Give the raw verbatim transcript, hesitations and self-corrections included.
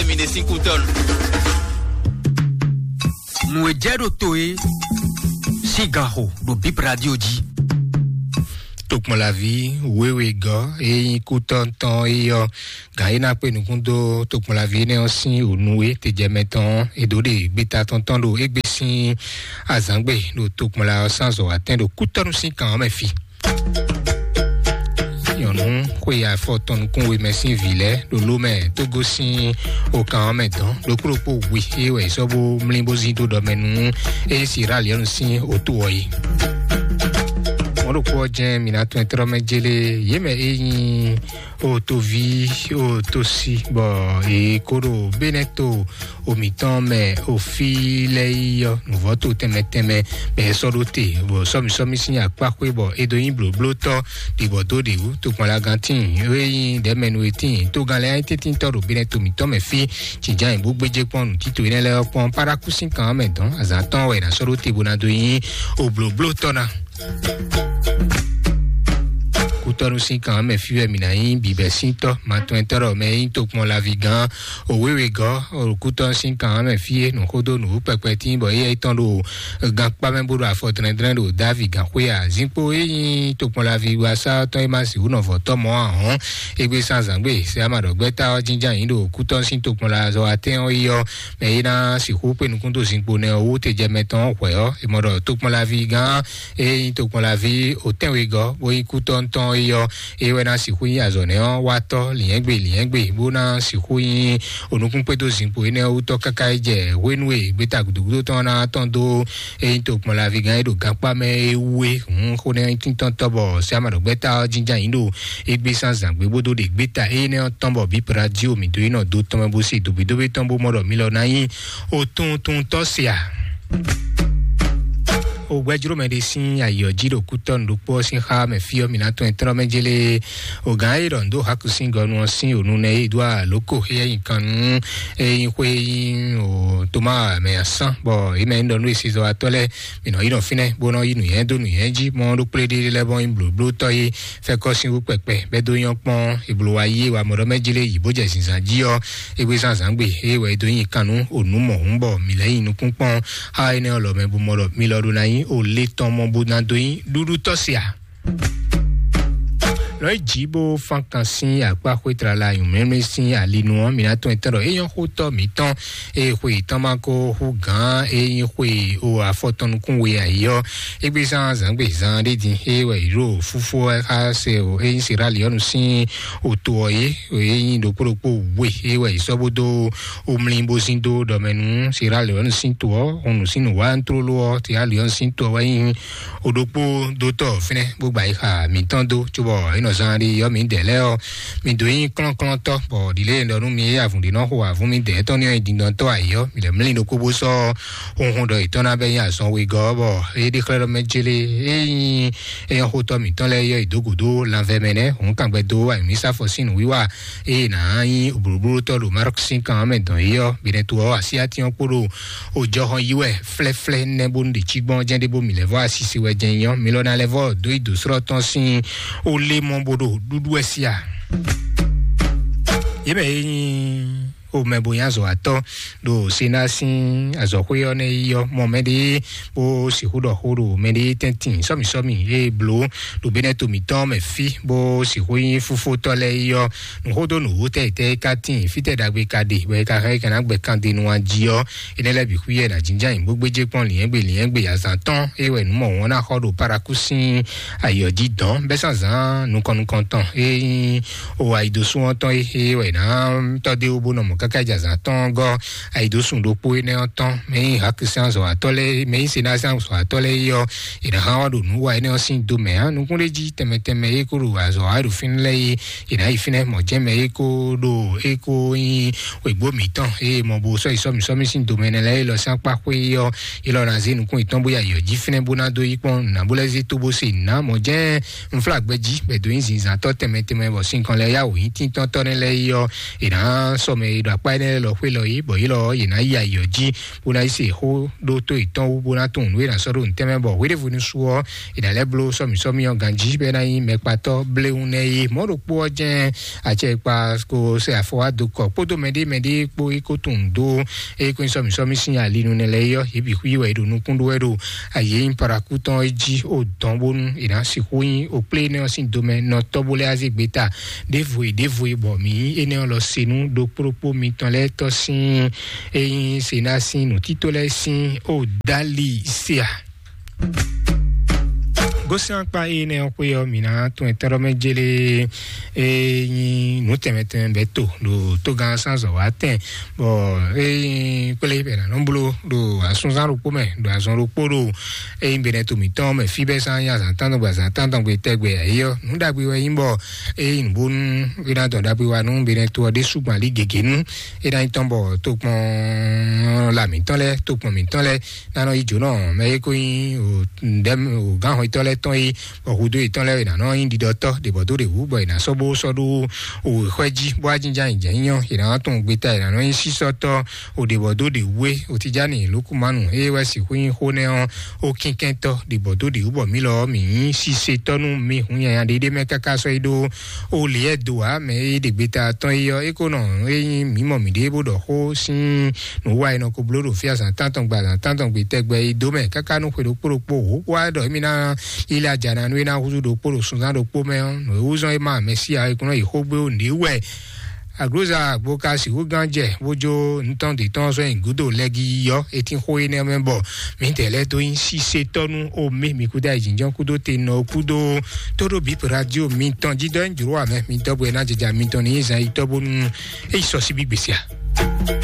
Mi ɖe sín kútɔ́nu. Nǔ e jɛ ɖo to é sín ganxo ɖo Bip Radio jí. Tokpɔnlaví wéwe gɔ́ e nyí kútɔ́ tɔn é yɔ gǎn é ná kpé nukún dó tokpɔnlaví énɛ́ ɔ́ sín ònu e tejɛmɛ tɔn ɔ́, è dǒ ɖe gbeta tɔn tɔn ɖo égbé sín azǎngbe ɖo tokpɔnla ɔ́ sín azɔ̌watɛn ɖo kútɔ́nu sín kan ɔ́ mɛ fi. Nyɔ̌nu xwe afɔ tɔn nukún we mɛ sín vǐ lɛ́ɛ ɖo ló mɛ tó gosín okan ɔ́ mɛ dɔn ɖokpó ɖokpó we é wɛ è sɔ́ bó mlí bó zín dó ɖɔ mɛ nú é nyí Siraliɔ́nu sín oto ɔ́ yi. Mɔ̌ ɖokpó ɔ́ jɛ́n mi ná tɔn tlɔ́ mɛ jélé yě mɛ é nyí otoví otosi bɔ è kó ɖo Beneto omǐtɔn mɛ ofi lɛ́ɛ yi ɔ́ nǔvɔ́ to tɛnmɛ tɛnmɛ bɔ è sɔ́ ɖó te bɔ sɔ́mi sɔ́mi sín akpá xwé bɔ é dó nyí blǒblótɔ́ ɖibɔ dó ɖě wú tokpɔnlagán tíin é nyí ɖɛ̌mɛnu e tíin tógán lɛ́ɛ nyí tɛ́ntíntɔ́ ɖo Beneto mǐtɔn mɛ fí. Jǐjǎn bó gbéjé kpɔ́n nǔtito énɛ́ lɛ́ɛ ɔ́ kpɔ́n párákú sín kan ɔ́ mɛ dɔn azǎn tɔn wɛ è nǎ sɔ́ ɖó te bó ná dó nyí oblǒblótɔ́ ná. Kútɔ́nú sín kan ɔ́ mɛ fí wɛ mǐ ná nyí bǐbɛ́ sín tɔ́ matɔntɔ́rɔ mɛ e nyí tokpɔn laví gán òwéwegɔ́ kútɔ́nú sín kan ɔ́ mɛ fí é nǔxódó nǔ kpɛkpɛ tín bɔ éyɛ́ tɔn ɖo gankpá mɛ bó ɖo afɔ dlɛ́ndlɛ́n ɖo Davi gǎnxwé ǎ. Zinkpo e nyí tokpɔnlaví wasá tɔn e ma sixú nɔ vɔ̌ tɔ́ mɔ̌ ǎ hɔ́n, égbé sín azǎngbe sɛ ama ɖɔ gbɛ́ta ɔ́ jínjɔ́n ayǐ ɖo kútɔ́ sín tokpɔnlazɔ́watɛ́n ɔ́ yi ɔ́, mɛ e ná sixú kpé nukún dó zinkpo nɛ́ ɔ́ wú tejɛmɛ tɔn hwɛ̌ ɔ́, è mɔ ɖɔ tokpɔnlaví gán e nyí tokpɔnlaví òtɛ́nwegɔ́ bó nyí kútɔ́ntɔn é ɔ́, é wɛ ná sixú nyí azɔ̌nɛ́ ɔ́ watɔ́ lǐnyɛ́gbe lǐnyɛ́gbe, bó ná sixú nyí onukúnkpédó zinkpo énɛ́ ɔ́ wútɔ́ káká é jɛ hwenu e gbeta gǔdúgúdú tɔn ná tɔn dó é nyí tokpɔnlaví gán é ɖo gankpá mɛ é wú é. Hǔn xó nɛ́ tíntɔ́ntɔ́ bɔ sɛ ama ɖɔ gbɛ́ta ɔ́ jínjɔ́n ayǐ ɖo égbé sín azǎngbe bó dó ɖe gbeta énɛ́ ɔ́ tɔn bɔ bǐ Pradio mǐ dó yi nɔ dó tɔn mɛ bó se dǒbídóbí tɔn bó mɔ ɖɔ mi lɔ ná nyí otuntuntɔ́ se a? Ogbɛjlómɛ ɖé sín ayǐ ɔ́ jí ɖo kútɔ́ nǔɖokpó ɔ́ sín xá mɛ fí ɔ́, mǐ ná tɔn ɛ tlɔ́ mɛ jélé. Ogǎn e ɖɔ nǔ dó Haku sín gɔnu ɔ́ sín ònu nɛ e dó alǒko éyɛ́ nyi kan nú e nyí xwé e nyí o Toma mɛ asán, bɔ é mɛ nyí ɖɔ nú esezɔ́watɔ́ lɛ́ɛ, mǐ nɔ yi nɔ fínɛ́ bó nɔ yí nǔnywɛ́ dó nǔnywɛ́ jí, mɔ ɖó kplé ɖé lɛ́ɛ bɔ nyí blǒblótɔ́ e fɛ́kɔ́ sín wú kpɛkpɛ bɛ́ dó nyɔ́ kpɔ́n. È blǒ wá yí e wa mɔɖɔ mɛ jlé yǐ bó jɛ zǐnzán jí ɔ́, é gbé zán zǎngbe é wɛ é dó nyi kan nú ònú mɔ̌hun bɔ mǐ lɛ́ nyi nukún kpɔ́n xá énɛ́ ɔ́ lɔ mɛ bó mɔ ɖɔ mi lɔ ɖó ná nyí o lé tɔn mɔ bó ná dó nyí ɖuɖu tɔ́ se a? Lɔ é jǐ bó fán kan sín akpá xwé tlala nyǔmlɛ́mlɛ́ sín alinu ɔ́, mǐ ná tɔn etɔ́ ɖɔ é nyɔ́ xó tɔ́ mǐtɔn e xwe yětɔn ma ko hú gǎn e nyí xwe o afɔ tɔn nukún we ayǐ ɔ́, é gbé zán zǎngbe zán ɖé din é wɛ yě ɖo fúfú wɛ xá se o é nyí Siraliɔ́nu sín oto ɔ́ é, é nyí ɖokpó ɖokpó we é wɛ yě sɔ́ bó dó omlí bó zín dó ɖɔ mɛ nú Siraliɔ́nu sín to ɔ́, hun nǔ sín nǔwantlóló ɔ́, Siraliɔ́nu sín to ɔ́ wɛ nyí o ɖokpó dó tɔ fínɛ́ bó gba yi xa mǐtɔn dó, cóbɔ é nɔ zán ɖi yɔ mǐdɛɛ lɛ́ɛ ɔ́, mi dǒ nyí klɔ́nklɔ́ntɔ́, bɔ ɖǐlée ɖɔ nú mi e avǔn ɖé nɔ xo avǔn midɛɛ tɔn ní ɔ́ nyi dindɔntɔ́ ayǐ ɔ́, mi lɛ́ mlí ɖokpó bó sɔ́ hunhun ɖɔ yětɔn ná bɛ́ nyí azɔn wegɔ́ ɔ́, bɔ é ɖe xlɛ́ ɖɔ mɛ jélé é nyí éyɔ́xótɔ́ mǐtɔn lɛ́ɛ yɔ yi dó gǔdo lanvɛ mɛ nɛ́, hǔn kangbɛ dó ayǐmísafɔ sín nǔwiwa ée nǎ nyí blǒblótɔ́ ɖo Mark sín kan ɔ́ mɛ dɔn é ɔ́, binɛto ɔ́ asyátín ɔ́ kpó ɖo òjɔhɔn yí wɛ flɛ́flɛ́ nɛ́ bónú ɖě cí gbɔn jɛ́n ɖé bó mǐ lɛ́ vɔ́ asisi wɛ jɛ́n nyí ɔ́, mi lɔ ná lɛ́ vɔ́ dó yi dǒ slɔ́ tɔn sín ó lé mɔ bó ɖo ɖúɖú wɛ sí a? Yě mɛ e nyí xomɛ bo nyí azɔ̌watɔ́ ɖo Sena sín azɔ̌xwé ɔ́ nɛ́ yi ɔ́, mɔ mɛɖé bó sixú ɖɔ xó ɖo mɛɖé tɛ́ntin sɔ́mǐsɔ́mǐ e blǒ ɖo Benɛto mǐtɔn mɛ fí, bó sixú nyí fúfótɔ́ lɛ́ɛ yi ɔ́, nǔxódó nǔwú tɛ́ yi tɛ́ é ka tíin, fítɛ́ ɖagbe ka ɖe, bɔ é ka hɛn é ka ná gbɛ kandenu jí ɔ́, énɛ́ lɛ́ɛ bǐ xwíyɛ ná jínjɔ́n ayǐ bó gbéjé kpɔ́n lǐnyɛ́gbe lǐnyɛ́gbe azǎn tɔn é wɛ nǔ mɔ̌hun ɔ́ ná xɔ ɖo Paraku sín ayǐ ɔ́ jí dɔ̌n, bɛ́ zǎnzǎn nukɔn nukɔn tɔn e nyí o ayǐdósú ɔ́ tɔn e é wɛ ná tɔ́ dó bó nɔ mɔ káká jɛ azǎn tɔn gɔ́ ayǐdósú ɖokpó énɛ́ ɔ́ tɔn, mɛ nyí Haku sín azɔ̌watɔ́ lɛ́ɛ, mɛ nyí Sena sín azɔ̌watɔ́ lɛ́ɛ é ɔ́, è nǎ hán wá ɖo nǔ wa énɛ́ ɔ́ sín do mɛ ǎ. Nukún ɖé jí tɛnmɛ tɛnmɛ é kó ɖo azɔ̌ wa ɖo fínɛ́ lɛ́ɛ é, è nǎ yi fínɛ́ mɔ̌ jɛ́n mɛ é kó ɖo é kó nyí wěgbó mǐtɔn e mɔ bo sɔ́ yi sɔ́mǐ sɔ́mí sín domɛ nɛ lɛ́ɛ élɔ́ sín akpá xwé ɔ́, élɔ́ ná zé nukún yětɔn bó yi ayǐ jí fínɛ́ bó ná dó yí kpɔ́n nǔ ná bó lɛ́ zé tó bó se nǔ ná mɔ̌ jɛ́n unflágbɛ́ jí bɔ è dǒ nyí zinzǎntɔ́ tɛnmɛ tɛnmɛ bɔ sinkɔn lɛ́ɛ yá wǒ nyí tíntɔ́ntɔ́ nɛ́ lɛ́ɛ yi ɔ́, è nǎ sɔ́ mɛ e ɖo akpá énɛ́ lɛ́ɛ lɔ xwé lɔ yí, bɔ yě lɔ yě ná yi ayǐ ɔ́ jí, bó ná yi se xó ɖó tó yětɔn wú, bó ná tunwun nǔ e è nǎ sɔ́ ɖo nǔtɛn mɛ, bɔ hwéɖěvo ní sú ɔ́, è nǎ lɛ́ bló sɔ́mǐsɔ́mí ɔ́ ganjí, bɔ é ná nyí mɛkpatɔ́ bléwún nɛ́ é. Mɔ̌ ɖokpó ɔ́ jɛ́n acɛkpa ko se afɔ wá dó kɔ kpódó mɛɖé mɛɖé kpó é kó tunwun dó é kó nyí sɔ́mǐsɔ́mí sín ali nu nɛ lɛ́ɛ é ɔ́, yě bǐ xwí wɛ è ɖo nukún ɖó wɛ ɖo ayǐ e nyí parakú tɔn é jí o dɔn bónú è nǎ sixú nyí o kplé énɛ́ ɔ́ sín domɛ nɔtɔ́ bó lɛ́ azé gbeta ɖěvo e ɖěvo e bɔ mǐ nyí énɛ́ ɔ́ lɔ se nú ɖokpó ɖokpó mitɔn lɛ́ɛ tɔ́ sín é nyí se ná sín nǔtító lɛ́ɛ sín o dali sea. Gosɛn akpa énɛ́ ɔ́ xwé ɔ́, mǐ ná tún ɛtɛ́ ɖɔ mɛ jélé é nyí nǔ tɛnmɛ tɛnmɛ bɛ́ to ɖo tógán sánzɔ wá tɛn, bɔ é nyí kplé bɛ nǎ nɔ bló ɖo asúnzán ɖokpó mɛ ɖo azɔn ɖokpó ɖo é nyí benɛ to mǐtɔn mɛ fí bɛ́ sán nyí azǎn tántɔn gbe azǎn tántɔn gbe tɛgbɛ ayé ɔ́, nǔ ɖagbe wɛ nyí bɔ é nyí nǔ bónú é ná dɔn ɖagbe wa nú benɛ to ɔ́ ɖésú gbɔn alí gěgé nú é ná nyí tɔn bɔ tokpɔn lamǐtɔn lɛ́ɛ tokpɔn mǐtɔn lɛ́ɛ ná nɔ yi jǒnɔ mɛ é kó nyí o ǹdɛ́ o gǎnhɔntɔ́ lɛ́ɛ tɔn é bɔ hudó yětɔn lɛ́ɛ ná nɔ nyí ɖiɖɔtɔ́ ɖě bɔ dó ɖě wú bɔ è nǎ sɔ́ bó sɔ́ ɖó o xwɛ jí bó wá jínjɔ́n ayǐ jɛ́n nyí ɔ́, è nǎ tunwun gbeta è nǎ nɔ nyí sísɔ́tɔ́ o ɖě bɔ dó ɖě wú é o Tijáni Lukúmanu é wɛ sixú nyí xó nɛ́ ɔ́ o kínkɛ́ntɔ́ ɖě bɔ dó ɖě wú bɔ mǐ lɔ ɔ́ mǐ nyí sisetɔ́ nú mǐ hun nyanya ɖé ɖé mɛ káká sɔ́ yi ɖó o lě ɛ do ǎ mɛ é ɖe gbeta tɔn é ɔ́ é kó nɔ é nyí mǐ mɔ mǐɖée bó ɖɔ xó sín nǔ wa e nɔ ko bló ɖo fí azǎn tántɔn gbe azǎn tántɔn gbe tɛgbɛ yi dó mɛ káká nú xwe ɖokpó ɖokpó wǒ wá ɖɔ émí ná lílá jana nú é ná húzú ɖokpó ɖo sunzán ɖokpó mɛ ɔ́, nǔ e wú zɔ́n é ma Mɛsíya é kún nɔ yi xó gbé ó nǔɖé wɛ. Aglóza gbo ka sixú gán jɛ bó jó ntɔn ɖě tɔn sɔ́ nyi gúdo lɛ́gi yɔ é tín xó énɛ́ mɛ bɔ mǐdɛɛ lɛ́ɛ dó nyí sisetɔ́ nú omé mi kúdó ayǐjínjɔ́n kúdó te nɔ kúdó tóɖó bǐ radio mitɔn jí dɔ é jlǒ amɛ mi dɔ́ bɔ é ná jɛjɛ mitɔn ní nyí zan yi tɔ́ bónú é yi sɔ sí bí gbèsè a.